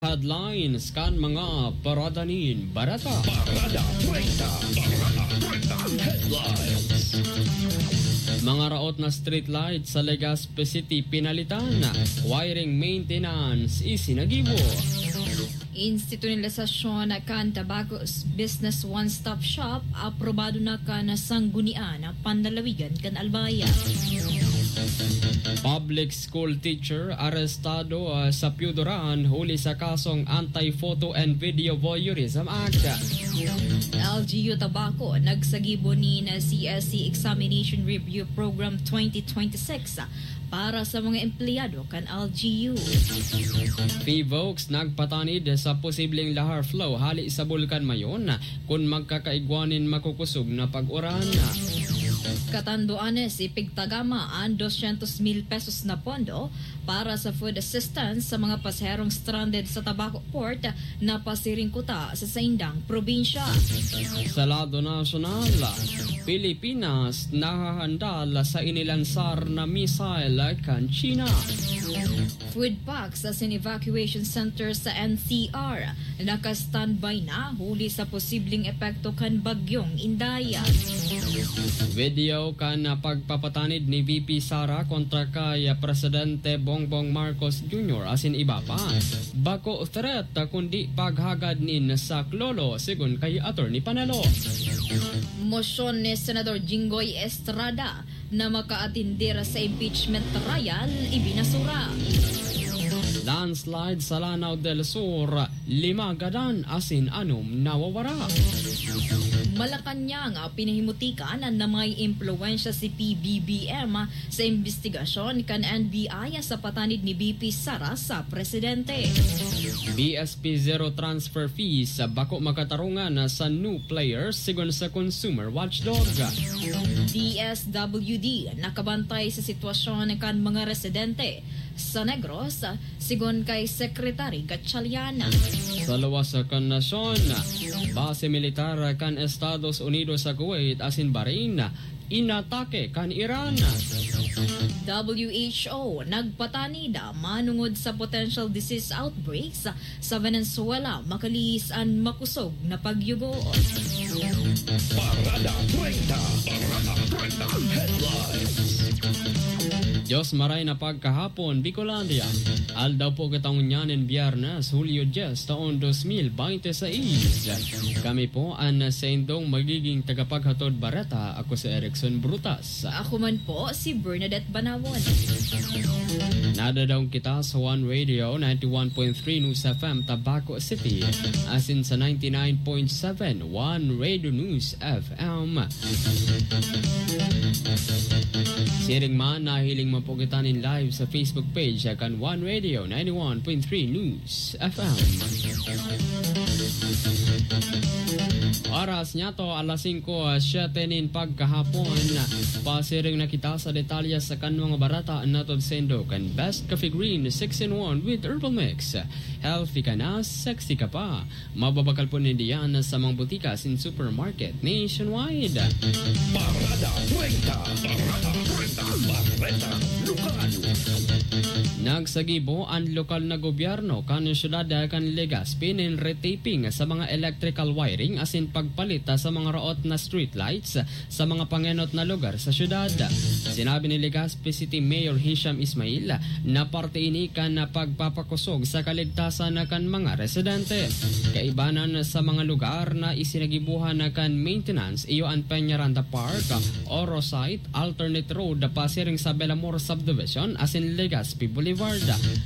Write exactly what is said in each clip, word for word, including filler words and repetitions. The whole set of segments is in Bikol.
Headlines kan mga parada nin bareta. Parada treinta. Parada treinta headlines. Mga raot na streetlight sa Legazpi City pinalitan. Wiring maintenance isinagibo. Institutionalisasyon kan Tabaco Business One Stop Shop aprobado na kan Sanggunian Panlalawigan kan Albay. Public school teacher arestado, ah, sa Piyudoran huli sa kasong Anti-Photo and Video Voyeurism Act. L G U Tabaco nagsagibo nin C S C Examination Review Program twenty twenty-six para sa mga empleyado kan L G U. Pvoc's nagpatanid sa posibleng lahar flow hali sa Bulkan Mayon kun magkakaigwa nin makukusog na pag-uran. Catanduanes, ipigtagama an dosyentos mil pesos na pondo para sa food assistance sa mga pasaherong stranded sa Tabaco Port na pasiring kuta sa saindang probinsya. Sa lado nasyonal, Pilipinas nahahandal sa inilansar na missile kan China. Food packs asin evacuation center sa N C R naka-standby na huli sa posibleng epekto kan Bagyong Inday. Video kan pagpapatanid ni V P Sara kontra kay Presidente Bongbong Marcos Junior asin iba pa. Bako threat, kundi paghagad nin saklolo, sigon kay Attorney Panelo. Mosyon ni Senador Jinggoy Estrada na makaatindir sa impeachment trial, ibinasura. Landslide sa Lanao del Sur, lima gadan asin anom nawawara. Malacañang, pinahimutikan na may impluwensya si P B B M sa imbestigasyon kan N B I sa patanid ni V P Sara sa presidente. B S P zero transfer fees, bako makatarungan sa new players, sigon sa Consumer Watchdog. D S W D nakabantay sa sitwasyon kan mga residente sa Negros, sigon kay Secretary Gatchalian. Sa luwas kan nasyon, base militar kan Estados Unidos sa Kuwait asin Bahrain, inatake kan Iran. W H O nagpatanid manungod sa potential disease outbreaks sa Venezuela, makalihis an makosog na pagyugo. Parada treinta. Parada treinta headlines. Diyos maray na pagkahapon, Bicolandia. Aldaw po kita ngunyan nin Biyernes, Hulyo dyes, taon dos mil bente seis. Kami po an saindong magiging tagapaghatod bareta. Ako si Erickson Brutas. Ako man po, si Bernadette Banawon. Nadadaong kita sa One Radio, ninety-one point three News F M, Tabaco City, asin sa ninety-nine point seven One Radio News F M. Siring man, nahiling man po kita nin live sa Facebook page kan One Radio, ninety-one point three News F M. Oras niya to, alas singko, siyete nin pagkahapon. Pasiring na kita sa detalye sa kan mga bareta na saindo kan Best Coffee Green six-in-one with Herbal Mix. Healthy ka na, sexy ka pa. Mababakal po ninda yan sa mga butika asin supermarket nationwide. Parada treinta. Parada treinta. Bareta lokal. Nagsagibo an lokal na gobyerno kan siyudad kan Legazpi nin retaping sa mga electrical wiring asin pagpalit sa mga raot na streetlights sa mga pangenot na lugar sa siyudad. Sinabi ni Legazpi City Mayor Hisham Ismail na parte ini kan pagpapakosog sa kaligtasan kan mga residente. Kaibanan sa mga lugar na isinagibuhan kan maintenance, iyo an Peñaranda Park, Oro Site, Alternate Road, pasiring sa Belamor Subdivision, asin Legazpi Boulevard.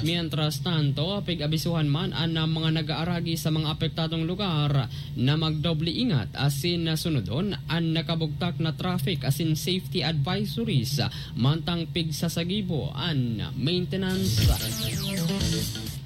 Mientras tanto, pig-abisuhan man an mga nag-aaragi sa mga apektadong lugar na magdoble ingat asin sunodon an nakabugtak na traffic asin safety advisories, mantang pigsasagibo an maintenance.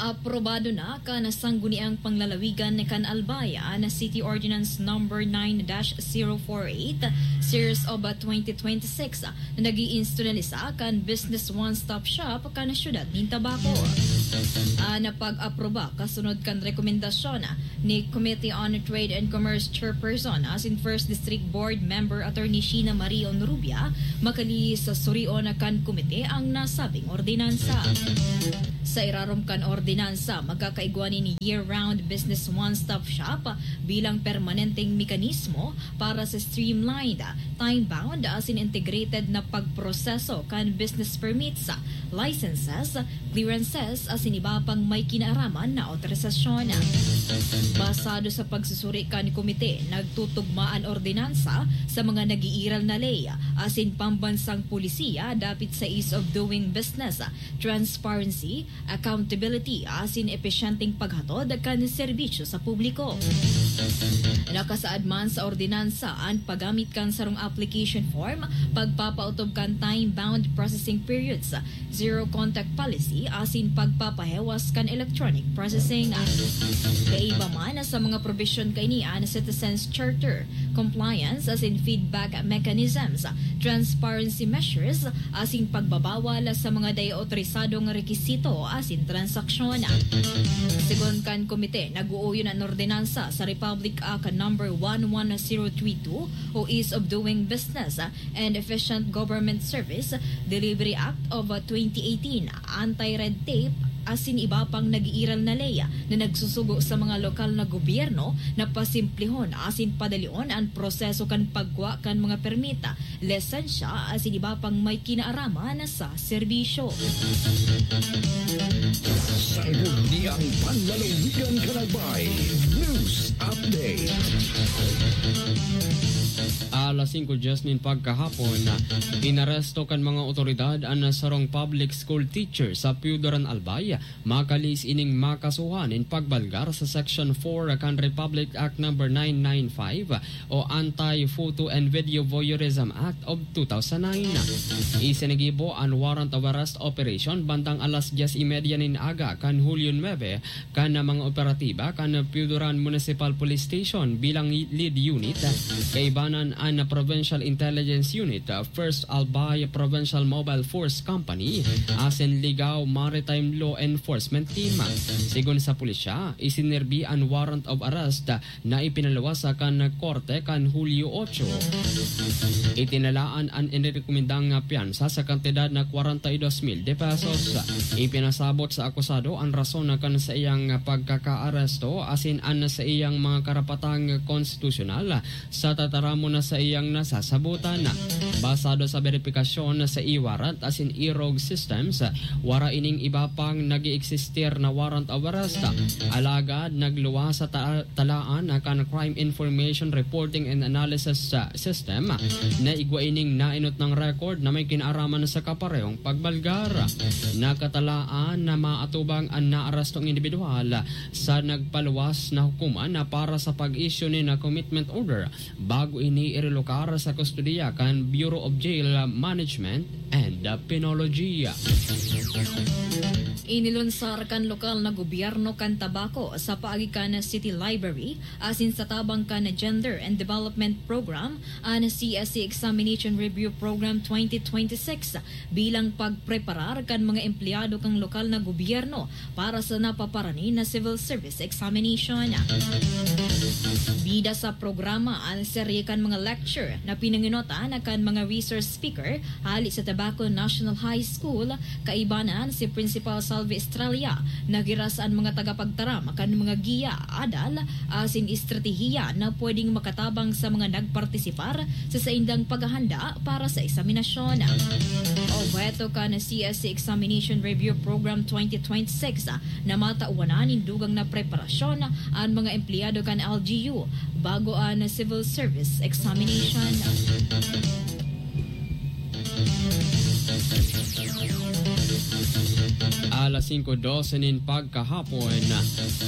Aprobado na kan Sangguniang Panglalawigan kan Albay an City Ordinance Number nine dash zero four eight, Series of twenty twenty-six, na nag-iinstitusyonalisa kan Business One Stop Shop kan siyudad nin Tabaco. An pag-aproba kasunod kan rekomendasyon ni Committee on Trade and Commerce Chairperson asin First District Board Member Attorney Sheena Marie Onrubia, makalihis sa surion kan komite ang nasabing ordinansa. Sa irarom kan ordinansa, magkakaigwa nin year-round business one-stop shop bilang permanenteng mekanismo para sa streamlined, time-bound asin integrated na pagproseso kan business permits, licenses, clearances asin iba pang may kinaaraman na otorisasyon. Basado sa pagsusuri kan komite, nagtutugma an ordinansa sa mga nag-iiral na ley asin pambansang polisiya dapit sa ease of doing business, transparency, accountability asin episyenteng paghatod kan serbisyo sa publiko. Nakasaad man sa ordinansa an paggamit kan sarong application form, pagpapaotob kan time-bound processing periods, zero contact policy asin pagpapahewas kan electronic processing. Kaiba man sa mga probisyon kaini an Citizens Charter, compliance asin feedback mechanisms, transparency measures, asin pagbabawal sa mga dai otorisadong rekisito asin transaksyon. Segun kan komite, nag-uuyon an ordinansa sa Republic Act Number one one zero three two o Ease of Doing Business and Efficient Government Service Delivery Act of twenty eighteen, Anti-Red Tape, asin iba pang nag-iiral na ley na nagsusugo sa mga lokal na gobyerno na pasimplihon asin padalion an proseso kan pagkua kan mga permita, lisensya asin iba pang may kinaaraman sa serbisyo. Sangguniang Panlalawigan kan Albay News Update. Alas singko dyes nin pagkahapon, inaresto kan mga otoridad an sarong public school teacher sa Pioduran, Albay, makalihis ining makasuhan nin pagbalgar sa Section four kan Republic Act Number nine nine five o Anti-Photo and Video Voyeurism Act of two thousand nine. Isinigibo an warrant of arrest operation bandang alas dyes y media nin aga kan Hulyo nuebe kan mga operatiba kan Pioduran Municipal Police Station bilang lead unit, kaibanan an Provincial Intelligence Unit, First Albay Provincial Mobile Force Company, asin Ligao Maritime Law Enforcement Team. Sigon sa pulisya, isinerbi an warrant of arrest na ipinaluwas kan korte kan Hulyo otso. Itinalaan an inirekomendang pyansa sa kantidad na kwarenta y dos mil de pesos. Ipinasabot sa akusado an rason kan saiyang pagkakaaresto asin an saiyang mga karapatang konstitusyonal sa tataramon na saiyang nasasabotan. Basado sa beripikasyon sa e-warrant asin e-rogue systems, wara ining iba pang nag-eeksistir na warrant of arrest. Alagad nagluwas sa ta-, talaan kan Crime Information Reporting and Analysis, ah, System na igwa ining naenot nang record na may kinaaraman sa kaparehong pagbalgar. Nakatalaan na maatubang an naarestong indibidwal sa nagpaluwas na hukuman na para sa pag-issue nin commitment order bago ini irelokar sa kustodiya kan Bureau of Jail Management and Penology. Inilunsar kan lokal na gobyerno kan Tabaco sa paagi kan City Library asin sa tabang kan Gender and Development Program an C S C Examination Review Program twenty twenty-six bilang pagpreparar kan mga empleyado kan lokal na gobyerno para sa napaparani na civil service examination. Bida sa programa an serye kan mga lecture na pinangenotan kan mga resource speaker hali sa Tabaco National High School, kaibanan si Principal Salvi Estrella. Nagiras an mga tagapagtaram kan mga giya, adal, asin estratehiya na pwedeng makatabang sa mga nagpartisipar sa saindang paghahanda para sa eksaminasyon. Obheto kan C S C Examination Review Program twenty twenty-six na matawan na nin dugang na preparasyon an mga empleyado kan L G U bago an civil service examination. Alas singko dose nin pagkahapon,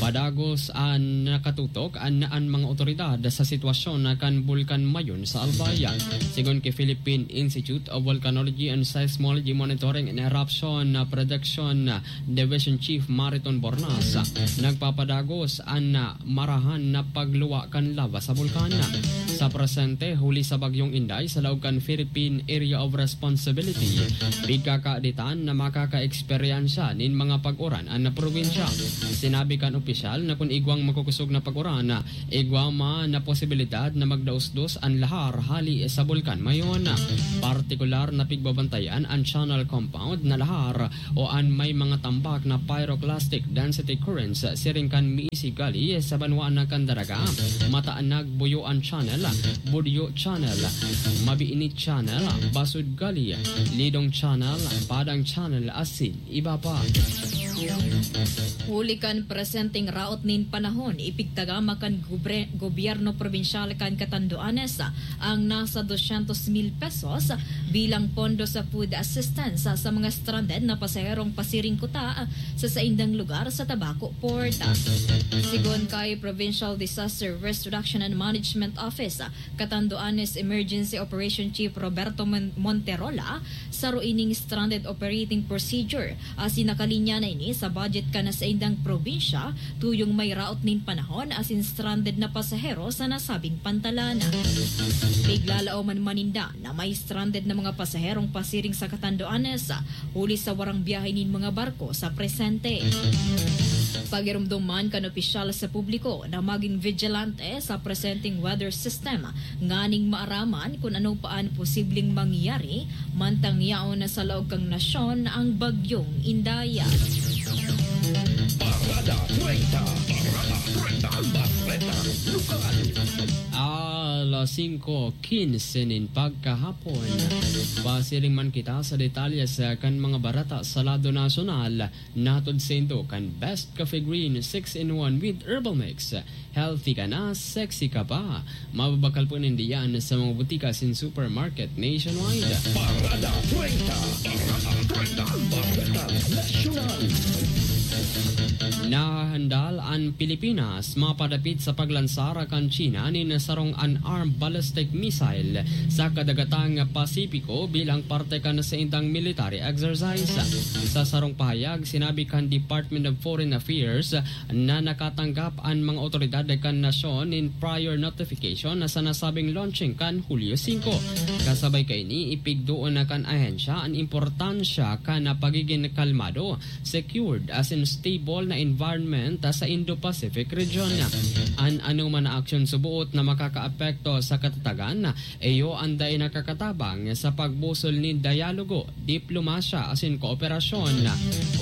padagos an nakatutok an, an mga otoridad sa sitwasyon kan Bulkan Mayon sa Albay. Sigon ki Philippine Institute of Volcanology and Seismology Monitoring and Eruption Prediction Division Chief Mariton Bornas, nagpapadagos an marahan na pagluwa kan lava sa bulkan. Sa presente, huli sa Bagyong Inday sa laog kan Philippine Area of Responsibility, pigkakaditan na makakaeksperyensya nin mga pag-uran an probinsya. Sinabi kan opisyal na kun igwang makukusog na pag-uran, igwa man na posibilidad na magdaos-dos an lahar hali sa Bulkan Mayon. Partikular na pigbabantayan an channel compound na lahar o an may mga tambak na pyroclastic density currents siring kan Miisi Gully sa banwaan na kan Daraga, Mataanag Buyoan Channel, Budyo Channel, Mabiinit Channel, Basud Gully, Lidong Channel, Padang Channel, asin iba pa. Huli kan presenteng raot nin panahon, ipigtagama kan gobre-, gobyerno probinsyal kan Catanduanes ang nasa doscientos mil pesos bilang pondo sa food assistance sa mga stranded na pasaherong pasiring kuta sa saindang lugar sa Tabaco Port. Sigon kay Provincial Disaster Risk Reduction and Management Office, Catanduanes Emergency Operation Chief Roberto Mon-, Monterola, saro ining stranded operating procedure, asin nakalinya na ini sa budget kan saindang probinsya, tuyong may raot nin panahon asin stranded na pasahero sa nasabing pantalan. Piglalaoman man ninda na may stranded na mga pasaherong pasiring sa Catanduanes, huli sa warang biyahe nin mga barko sa presente. Pagiromdom man kan opisyal sa publiko na magin vigilante sa presenteng weather system nganing maaraman kun ano pa an posibleng mangyari mantang yaon na sa laog kan nasyon ang Bagyong Indaya. Parada treinta. Parada treinta. Ang bareta lokal. Alas singko quince nin pagkahapon. Pasiring man kita sa detalye sa kan mga bareta sa lado nasyonal. Nahatod saindo kan Best Coffee Green six-in-one with Herbal Mix. Healthy ka na, sexy ka pa. Mababakal po ninda yan sa mga butika asin supermarket nationwide. Parada treinta. Parada treinta. Bareta Nasyonal. Nahahandal an Pilipinas mapadapit sa paglansar kan China nin sarong unarmed ballistic missile sa kadagatang Pasipiko bilang parte kan saindang military exercise. Sa sarong pahayag, sinabi kan Department of Foreign Affairs na nakatanggap an mga otoridad kan nasyon nin prior notification sa nasabing launching kan Hulyo singko. Kasabay kaini, ipigdoon na kan ahensya an importansya kan pagigin kalmado, secured asin stable na environment sa Indo-Pacific region. An anoman na aksyon suboot na makakaapekto sa katatagan, iyo an dai nakakatabang sa pagbusol nin dialogo, diplomasya asin kooperasyon.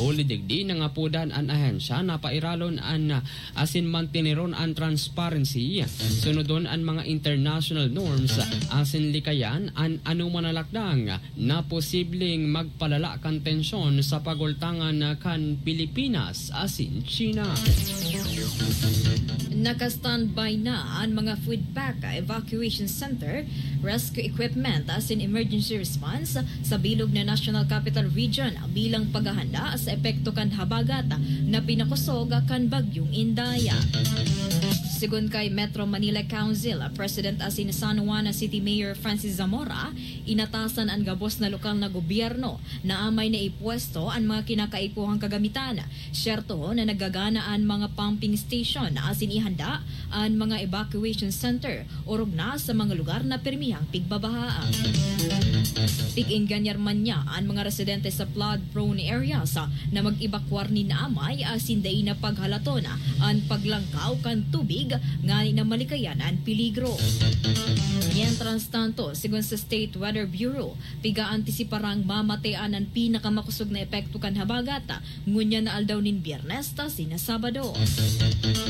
Huli digdi, nangapodan an ahensya na pairalon an asin manteneron an transparency, sunodon an mga international norms asin likayan an anoman na lakdang na posibleng magpalala kan tensyon sa pagultangan kan Pilipinas asin China. Naka-standby na an mga food pack, evacuation center, rescue equipment asin emergency response sa bilog na National Capital Region bilang paghahanda sa epekto kan habagat na pinakusog kan Bagyong Indaya. Sigon kay Metro Manila Council President asin San Juan City Mayor Francis Zamora, inatasan an gabos na lokal na gobyerno na amay na ipwesto an mga kinakaipuhang kagamitan. Siyerto na nagagana an mga pumping station asin ihanda an mga evacuation center orog na sa mga lugar na pirmihang pigbabaha. Pig-engganyar man niya an mga residente sa flood-prone areas na mag-ebakwar nin amay asin dai na paghalaton an paglangkaw kan tubig ngani na malikayan an peligro. Mientras tanto, sigon sa State Weather Bureau, piga-antisiparang mamatean an pinakamakosog na epekto kan habagat ngunyan na aldaw nin Biyernes ta sina Sabado.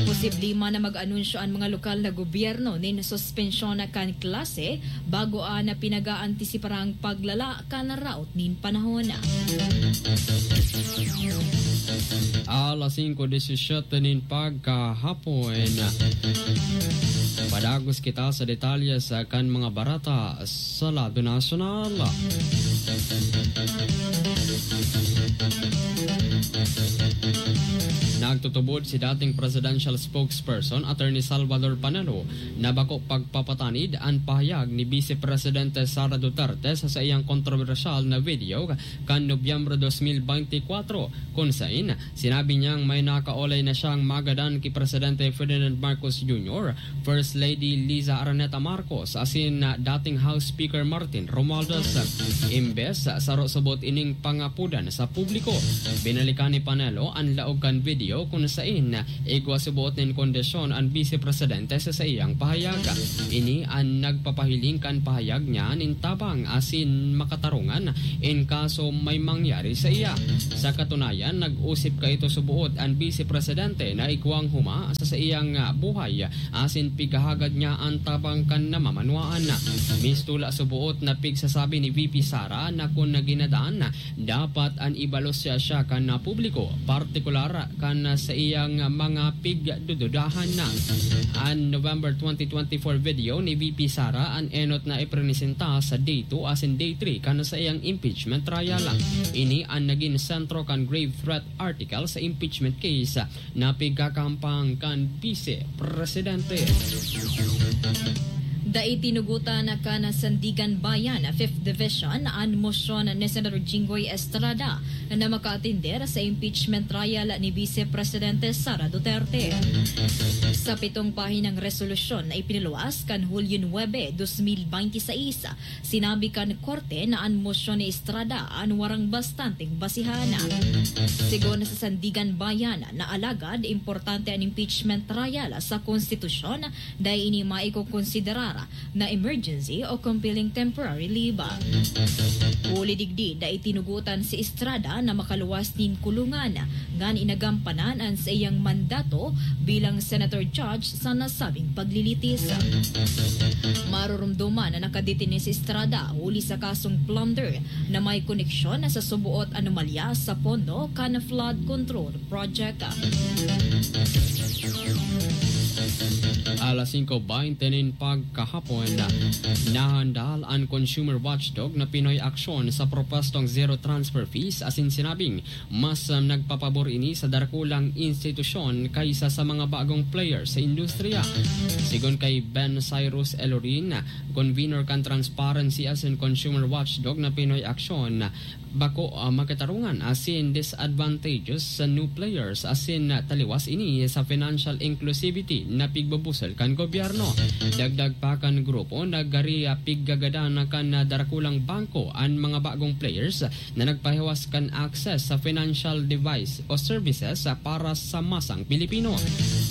Posible man na mag-anunsyo an mga lokal na gobyerno nin suspensyon kan klase bago an pinaga-antisiparang paglala kan raot nin panahon. Alas singko diecisiete nin pagkahapon. Padagos kita sa detalye sa kan mga bareta sa lado nasyonal. Na Nagtutubod si dating presidential spokesperson Attorney Salvador Panelo na bako pagpapatanid an pahayag ni Vice Presidente Sara Duterte sa saiyang kontrobersyal na video kan Nobyembre dos mil beintikwatro, kun sain sinabi niyang may nakaolay na siyang magadan ki Presidente Ferdinand Marcos Junior, First Lady Liza Araneta Marcos asin dating House Speaker Martin Romualdez. Imbes saro subot ining pangapodan sa publiko, binalikan ni Panelo an laog kan video kun sain igwa subot nin kondisyon an Vice Presidente sa saiyang pahayag. Ini an nagpapahiling kan pahayag niya nin tabang asin makatarungan in kaso may mangyari sa iya. Sa katunayan, nag-usip kaito subot an Vice Presidente na igwang huma sa saiyang buhay asin pighahagad niya an tabang kan namamanwaan. Mistula subot na pigsasabi ni V P Sara na kun naginadan, dapat an ibalos siya, siya kan publiko, partikular kan sa iyang mga pigdududahan na. An November twenty twenty-four video ni V P Sara an enot na iprenesenta sa Day two asin Day three kan sa iyang impeachment trial. Ini an nagin sentro kan grave threat article sa impeachment case na pigkakahampang kan Vice Presidente. Dai tinugotan kan Sandiganbayan Fifth Division an mosyon ni Senator Jinggoy Estrada na makaatender sa impeachment trial ni Vice Presidente Sara Duterte. Sa pitong pahinang resolusyon na ipiniluwas kan Hulyo nuebe, dos mil beinti seis, sinabi kan korte na an mosyon ni Estrada an warang bastanteng basihan. Sigon sa Sandiganbayan na alagad importante an impeachment trial sa konstitusyon, dai ini maikokonsiderar na emergency o compelling temporary leave. Huli digdi, dai tinugotan si Estrada na makaluwas nin kulungan, ngani nagampanan an saiyang mandato bilang senator judge sa nasabing paglilitis. Marurumduman na nakadetene si Estrada huli sa kasong plunder na may koneksyon sa suboot anomalya sa pondo kan flood control project. Alas singko beinti nin pagkahapon, nahandal an consumer watchdog na Pinoy Aksyon sa propostong zero transfer fees asin sinabing mas, um, nagpapabor ini sa dakulang institusyon kaysa sa mga bagong player sa industriya. Sigon kay Ben Cyrus Elorin, convener kan Transparency asin Consumer Watchdog na Pinoy Aksyon, bako, ah, makatarungan asin disadvantageous sa new players asin, ah, taliwas ini sa financial inclusivity na pigbubusol kan gobyerno. Dagdag pa kan grupo, nagari, ah, piggagadan kan, ah, darakulang bangko an mga bagong players na nagpahiwas kan access sa financial device o services, ah, para sa masang Pilipino.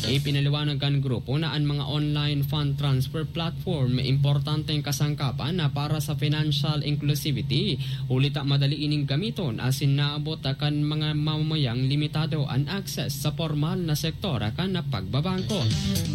Ipinaliwanag kan grupo na an mga online fund transfer platform importanteng kasangkapan na para sa financial inclusivity, huli ta madali ining gamiton asin naabot kan mga mamamayang limitado an access sa pormal na sektor kan pagbabangko.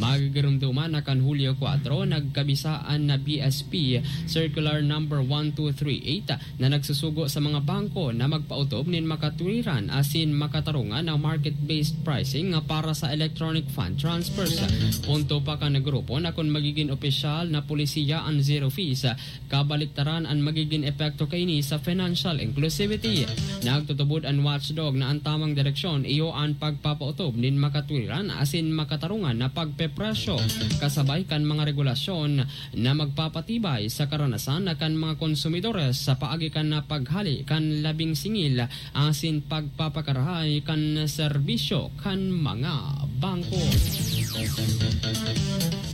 Magigirumduman na kan Hulyo kwatro, nagkabisa an B S P Circular Number one two three eight na nagsusugo sa mga bangko na magpaotob nin makatwiran asin makatarungan na market-based pricing nga para sa electronic fund transfers. Punto pa kan grupo na kun magigin opisyal na polisiya an zero fees, kabaliktaran an magigin epekto kaini sa financial inclusivity. Nagtutubod an watchdog na an tamang direksyon iyo an pagpapaotob nin makatwiran asin makatarungan na pagpepresyo, kasabay kan mga regulasyon na magpapatibay sa karanasan kan mga konsumidores sa paagi kan paghale kan labing singil asin pagpapakarahay kan serbisyo kan mga bangko.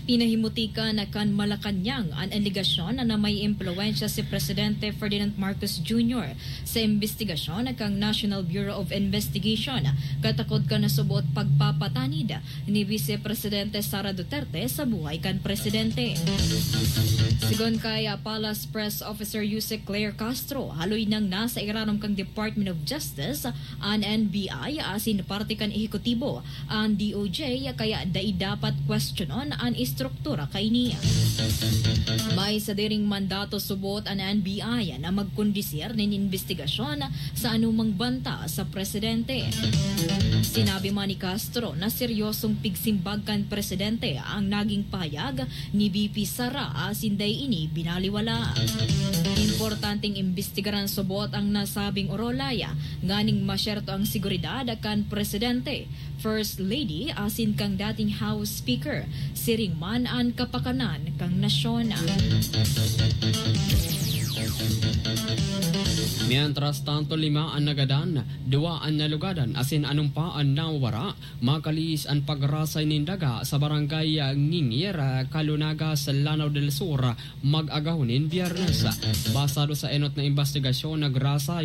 Pinahimutikan kan Malacañang an alegasyon na may impluwensya si Presidente Ferdinand Marcos Junior sa imbestigasyon kan National Bureau of Investigation, katakod kan subot pagpapatanid ni Vice Presidente Sara Duterte sa buhay kan presidente. Sigon kay, ah, Palace Press Officer Yusek Claire Castro, haloy nang nasa irarom kan Department of Justice an N B I asin parte kan ehekutibo an D O J, kaya dai dapat kwestiyonon an struktura kaini. May sadiring mandato subot an N B I na magkondisir nin imbestigasyon sa anumang banta sa presidente. Sinabi man ni Castro na seryosong pigsimbag kan presidente ang naging pahayag ni V P Sara asin dai ini binaliwala. Importanteng imbestigaran subot ang nasabing orolay nganing masyerto ang seguridad kan presidente, First Lady asin kang dating House Speaker, siring man an kapakanan kan nasyon. Mientras tanto, lima an nagadan, duwa an nalugadan asin anom pa an nawawara, makalihis an pagrasay nin daga sa barangay Ngingir, Calunagas, Lanao del Sur, mag-agahon nin Biyernes. Basado sa enot na imbestigasyon, nagrasay